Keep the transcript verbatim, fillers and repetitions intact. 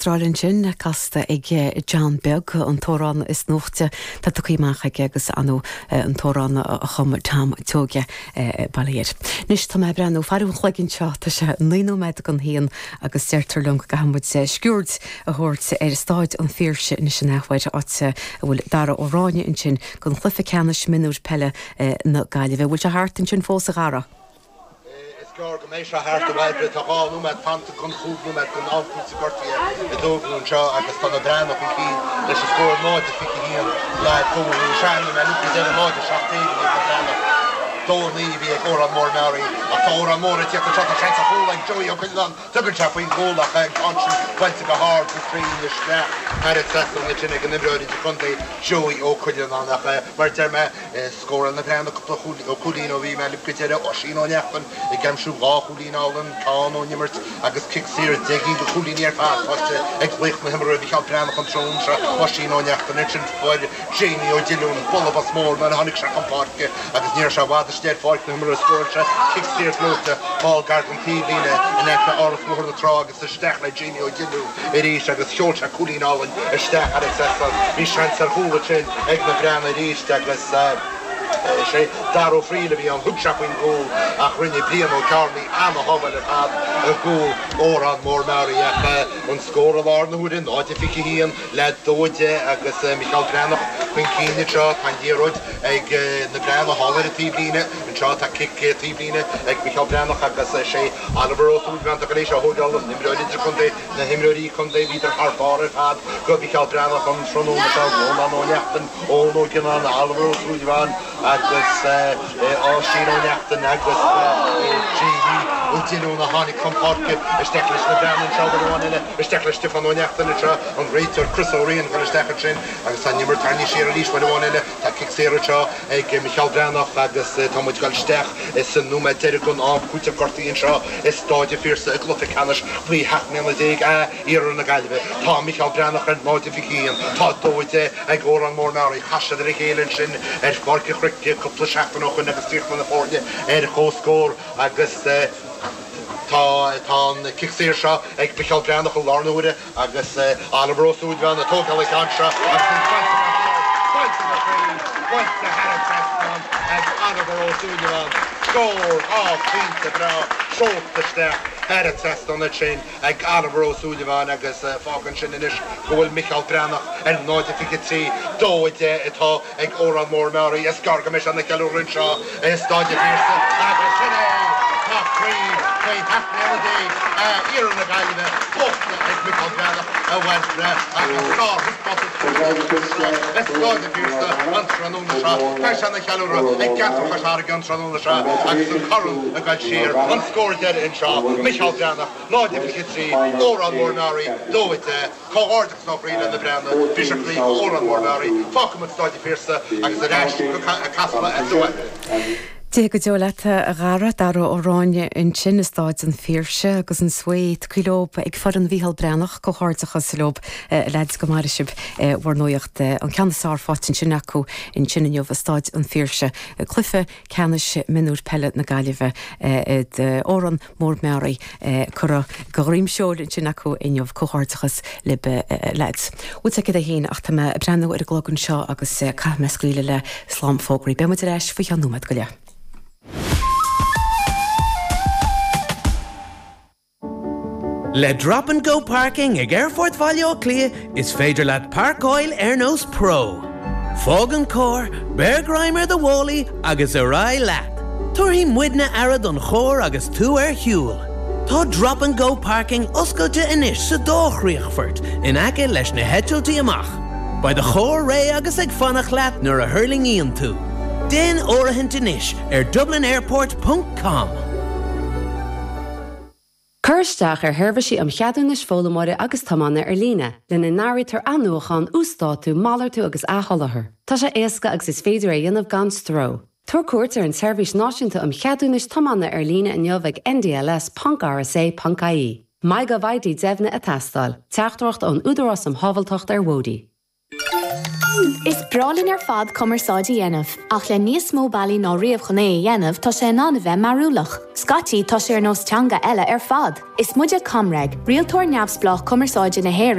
Astráil ansin casta ag John Beag an t-amhrán is nuachta tá tugtha amach aige agus anu an t-amhrán a chum Tom Seoige bailíir. Anois tá mé ag breathnú ar an chlog anseo tá sé naoi nóiméad don haon agus deirtear liom go gcaithfidh muid sciuird a thabhairt ar Staid an Phiarsaigh anois an athuair áit a bhfuil Dara Ó Ráinne ansin don chluiche ceannais mionúir peile na Gaillimhe. Bhfuil sé thart ansin fós a Dhara. Is gearr go mbeidh sé thart a Bhairbre tá dhá nóiméad fanta don chúig nóiméad den am cúiteamh gortaithe i dtógadh anseo agus tá na Breathnaigh chun cinn leis an scór náid a fiche haon le dó naoi sean mé lúcra deireadh náid a seacht déag a bhí ag na Breathnaigh dó naoi a bhí ag Órán Mór Meáraí ach tá Órán Mór ag tíocht anseo tá seans ar chúl ag Joey Ó Cuileanáin tugann sé faoin gcúl ach an ceann sin buailte go hard go cruinn isteach thar an trasnán ansin ag an imreoir idirchontae Joey Ó Cuileanáin ach mar a deir mé Scóráil na Breathnaigh cúpla cúilín ó bhí mé libh go deireadh Oisín Ó Neachtain ag aimsiú dhá chúilín álainn, ceann ón imirt agus cic saor deich gcinn de chúilíní ar fad faighte ag laoch na himeartha Micheál Breathnach an tráthnóna seo, Oisín Ó Neachtain ansin fuair Jamie Ó Diolúin bualadh bos mór nuair a tháinig sé chun páirce agus ní raibh sé i bhfad istigh ar pháirc na himeartha scóráil sé cic saor gleoite thall gar don taobhlíne in aice Áras Bhóthar na Trá agus isteach le Jamie Ó Diolúin arís agus sheol sé cúilín álainn isteach thar an trasnán. Bhí seans ar chúl ansin ag na Breathnaigh arís agus is é Dara Ó Frighil a bhí ann. Thug sé faoin gcúl ach rinne Brian Ó Cearnaigh ana-shábháil ar fad i gcúl Órán Mór Meáraí ach an scór i láthair na huaire, náid a fiche haon le dó a deich agus Micheál Breathnach chun cinn anseo. Tá an liathróid ag na Breathnaigh thall ar an taobhlíne anseo. Tá cic taobhlíne ag Micheál Breathnach agus is é Oliver Ó Súilleabháin atá tar éis é a thógáil, an t-imreoir idirchontae, na himreoirí contae, bhíodar thar barr ar fad do Mhicheál Breathnach an tráthnóna seo, Rónán Ó Neachtain, Eoin Ó Gionnáin, Oliver Ó Súilleabháin agus Oisín Ó Neachtain agus Jamie Ó Diolúin a tháinig chun páirce isteach leis na Breathnaigh anseo uair amháin eile, isteach le Stiofán Ó Neachtain anseo, an réiteoir Chris Ó Riain ag dul isteach ansin agus tá an imirt tarraingthe siar arís uair amháin eile. Tá cic saor anseo ag Micheál Breathnach agus tá muid ag dul isteach sa nóiméad deiridh den am cúiteamh gortaithe anseo i Stáid an Phiarsaigh i gcluiche ceannais faoi sheacht mbliana déag A Iarthar na Gaillimhe. Tá Micheál Breathnach ar náid a fiche haon, tá dó a deich ag Órán Mór Meáraí. Chas siad ar a chéile ansin ar Pháirc an Chnoic cúpla seachtain ó shoin agus chríochnaigh na foirne ar comhscór agus tá an cic saor seo ag Micheál Breathnach i láthair na huaire. Agus Oliver Ó Súilleabháin ag tógáil an ceann seo agus an buailte go hard, buailte go cruinn, buailte thar an trasnán ag Oliver Ó Súilleabháin. Scór dhá phointe breá seolta isteach thar an trasnán ansin ag Oliver Ó Súilleabháin agus fágann sin anois go bhfuil Micheál Breathnach ar náid a fiche trí, dó a deich atá ag Órán Mór Meáraí. Is gearr go mbeidh sé ina cheiliúradh anseo i Stáid an Phiarsaigh agus sin é! Tá craobh faoi sheacht mbliana déag A Iarthar na Gaillimhe buachta ag Micheál Breathnach a Bhairbre agus sárthaispeántas anseo i Stáid an Phiarsaigh an tráthnóna seo. Beidh sé ina cheiliúradh ag ceantar Chois Fharraige an tráthnóna seo agus an corn ag dul siar. An scór deiridh anseo, Micheál Breathnach, náid a fiche trí, Órán Mór Meáraí, dó a deich. Comhghairdeachas ó chroí le na Breathnaigh, bhí sé croí Órán Mór Meáraí, fágfaidh muid Stáid an Phiarsaigh agus ar ais go Casla a Bhairbre. Dia go deo leat a Dhara, Dara Ó Ráinne ansin i Stáid an Phiarsaigh agus an svae tugtha leob ag foireann Mhícheál Breathnach, comhghairdeachas leob a leaids go maire sibh bhur nuaíocht. An ceann is fearr faighte ansin acu ansin inniu i Stáid an Phiarsaigh, cluiche ceannais mionúir peile na Gaillimhe d'Órán Mór Meáraí curtha de dhroim seoil ansin acu inniu. Comhghairdeachas libh a leaids. Bhfuil sé céad a haon ach tá mé ag breathnú ar an gclog anseo agus caithfidh mé scaoileadh le slám fógraí. Beidh muid ar ais faoi cheann nóiméad go leith. Le Drop and Go Parking ag Aerfort Bhaile Átha Cliath is féidir leat páirceáil ar nós pro. Fág an carr, beir greim ar do mhálaí agus ar aghaidh leat! Tabharfaidh muidne aire don charr agus tú ar shiúl. Tá Drop and Go Parking oscailte anois sa dá chríochfort in aice leis na heitiltí amach. Beidh do charr réidh agus ag fanacht leat nuair a thuirlingíonn tú. Déan áirithint anois ar dublinairport ponc com. Cuir isteach ar sheirbhísí um cheadúnais foghlaimeora agus tiomána ar líne, lena n-áirítear athnuachan, uasdátú, malartú agus athsholáthar. Tá sé éasca agus is féidir é a dhéanamh gan stró. Tabhair cuairt ar an tSeirbhís Náisiúnta um Cheadúnais Tiomána ar líne inniu ag ndls ponc rsa ponc ie. MyGovID deimhnithe ag teastáil. Teachtaireacht ón Údarás um Shábháilteacht ar Bhóithre. Is breá linn ar fad cumarsáid a dhéanamh, ach le níos mó bealaí ná riamh chun é a dhéanamh tá sé in ann a bheith mearúlach. Scaití tá sé ar nós teanga eile ar fad. Is muide ComReg, rialtóir neamhspleách cumarsáide na hÉireann